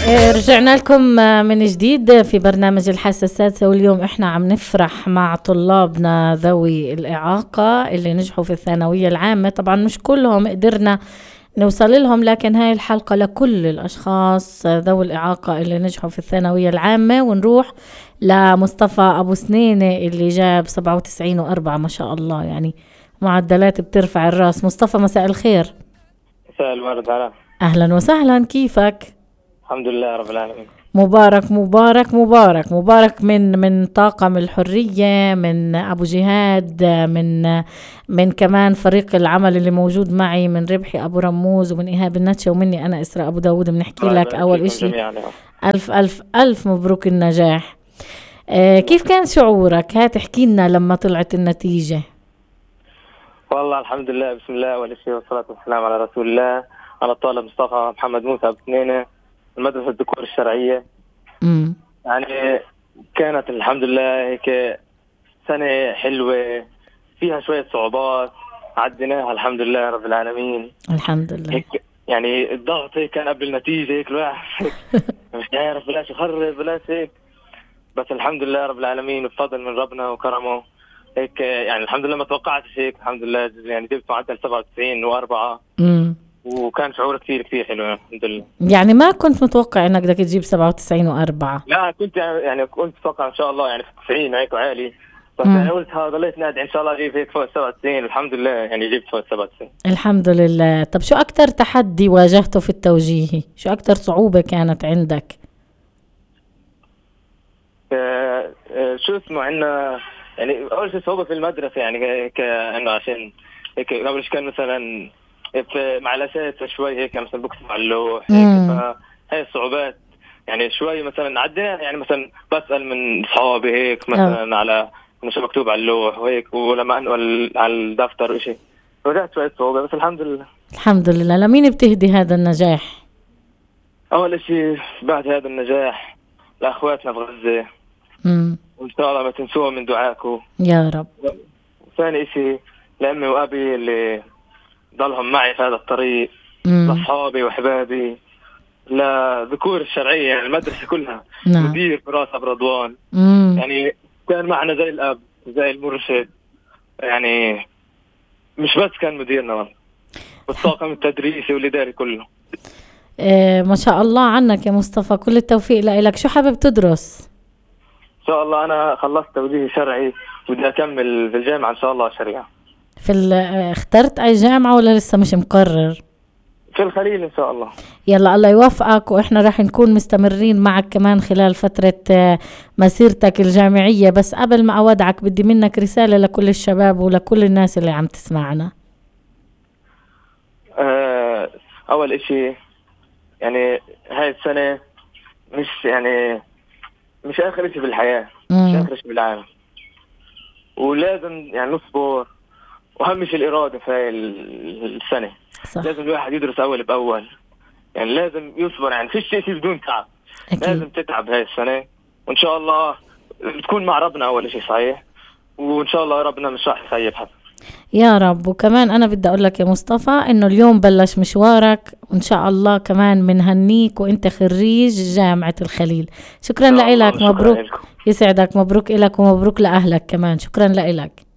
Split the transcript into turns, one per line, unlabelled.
رجعنا لكم من جديد في برنامج الحاسة السادسة، واليوم احنا عم نفرح مع طلابنا ذوي الإعاقة اللي نجحوا في الثانوية العامة. طبعا مش كلهم قدرنا نوصل لهم، لكن هاي الحلقة لكل الأشخاص ذوي الإعاقة اللي نجحوا في الثانوية العامة. ونروح لمصطفى أبو سنينة اللي جاب 97.4 ما شاء الله، يعني معدلات بترفع الراس. مصطفى مساء الخير.
مساء الورد.
أهلا وسهلا، كيفك؟
الحمد لله رب العالمين.
مبارك مبارك مبارك مبارك من طاقم الحرية، من أبو جهاد، من كمان فريق العمل اللي موجود معي، من ربحي أبو رموز ومن إيهاب النتشة ومني أنا إسراء أبو داود. بنحكي لك أول إشي ألف ألف ألف مبروك النجاح. كيف كان شعورك؟ هات احكي لنا لما طلعت النتيجة.
والله الحمد لله، بسم الله والإشي والصلاة والسلام على رسول الله. أنا الطالب مصطفى محمد موسى أبو سنينة، المدرسة الذكور الشرعية. يعني كانت الحمد لله هيك سنة حلوة فيها شوية صعوبات عديناها الحمد لله رب العالمين.
الحمد لله.
هيك يعني الضغط هيك كان قبل النتيجة، هيك الواحد مش عارف بلاش يخرب بلاش هيك، بس الحمد لله رب العالمين بفضل من ربنا وكرمه هيك. يعني الحمد لله ما توقعتش هيك، الحمد لله يعني جبت معدل 97.4. وكان شعور كثير حلو الحمد لله. يعني
ما كنت متوقع انك بدك تجيب 97.4؟
لا كنت يعني كنت اتوقع ان شاء الله يعني 90 هيك وعالي، بس يعني قلت ضليت نادي ان شاء الله اجيب هيك فوق 97. الحمد لله يعني جبت فوق 97
الحمد لله. طب شو اكثر تحدي واجهته في التوجيهي؟ شو اكثر صعوبة كانت عندك؟
شو اسمه عندنا يعني اول شيء صعوبة في المدرسة، يعني كأنه عشان هيك قبل كان مثلا مع الأساس شوي هيك مثلا بكتب على اللوح هيك، فهي الصعوبات يعني شوي مثلا عدينا. يعني مثلا بسأل من أصحابي هيك مثلا على شو مكتوب على اللوح وهيك، ولما أنقل على الدفتر وشيء واجهت شوية صعوبة، بس الحمد لله. الحمد
لله. لمين بتهدي هذا النجاح؟
أول شيء بعد هذا النجاح لأخواتنا في غزة، وإن شاء الله ما تنسوهم من دعاكم
يا رب.
ثاني شيء لأمي وأبي اللي ضلهم معي في هذا الطريق، لأصحابي وأحبابي، لذكور الشرعية يعني المدرسة كلها. مدير فراس أبو رضوان يعني كان معنا زي الأب زي المرشد، يعني مش بس كان مديرنا والله، والطاقم التدريسي والإداري كله.
ما شاء الله عنك يا مصطفى، كل التوفيق لك. شو حابب تدرس؟
إن شاء الله أنا خلصت توجيهي شرعي ودي أكمل في الجامعة إن شاء الله شريعة.
اخترت أي جامعة ولا لسه مش مقرر؟
في الخليل إن شاء الله.
يلا الله يوفقك، وإحنا راح نكون مستمرين معك كمان خلال فترة مسيرتك الجامعية. بس قبل ما أودعك بدي منك رسالة لكل الشباب ولكل الناس اللي عم تسمعنا.
أول إشي يعني هاي السنة مش آخر إشي بالحياة، مش آخر إشي بالعالم، ولازم يعني نصبر. وأهم شيء الإرادة في هاي السنة. صح. لازم الواحد يدرس أول بأول، يعني لازم يصبر، يعني فيش شيء بدون تعب. أكيد. لازم تتعب هاي السنة، وإن شاء الله تكون مع ربنا أول شيء صحيح، وإن شاء الله ربنا مش راح يخيب حد
يا رب. وكمان أنا بدي أقول لك يا مصطفى إنه اليوم بلش مشوارك، وإن شاء الله كمان منهنيك وإنت خريج جامعة الخليل. شكرا لك، مبروك. يسعدك، مبروك إلك ومبروك لأهلك كمان. شكرا لك.